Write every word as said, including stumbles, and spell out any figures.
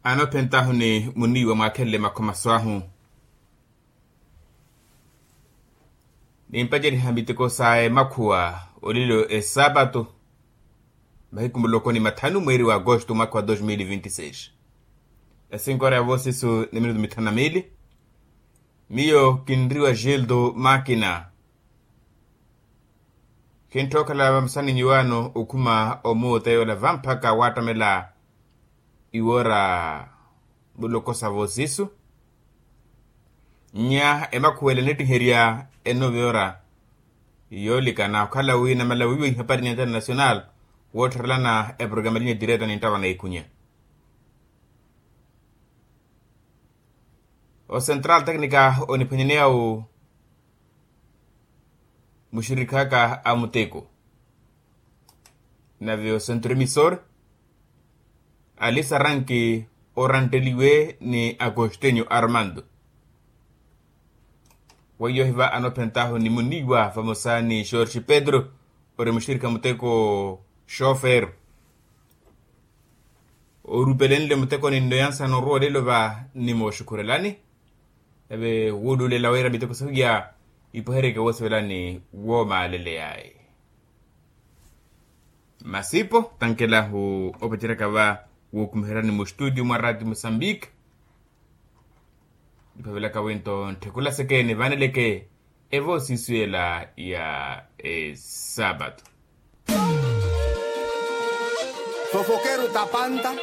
Anophentahu ni muniiwa mwaakhenle makhomaso ahu. Nimpaceriha miteko sa emakhuwa olelo esapato mahiku muloko ni mathanu mweeri wa agosto mwaka wa dos mil vinti seis. Esinkoora ya voosisu ni minutu mithanu na miili. Miyo kinriwa gildo makina. Kintthokhala vamusani nyuwaano okhuma omuuta yoola vamphaka waattamela iwoora muloko sa voosisu. Nya emakhuwela enettiherya enoova yoora yoolikana okhala wi namala wiiwa ihapari ni international woottharelana eprogramu elinya direta ninttawa na ikunya. Ocentral tecnica oniphwanyaneyawo muxirikhaaka a muteko nave ocentro emisor alisaranki orantteliwe ni acostenio armando. Weiyo hiva anophentahu ni muniiwa vamosa ni george pedro ori muxirikha muteko xofer orupelenle mutekoni nno yansa noruwa olelo va nimooxukhurelani. Nave wuululela wira miteko sahu ya ipohereke woosivelani woomaaleleyaaye. Masipo tankelahu opaceraka va wookumiherani mustutio mwa rati musambiki. Niphavelaka winto ntthikhula sekeeni vaneleke evoosisu ela ya esapato. Fofokeru tapanta.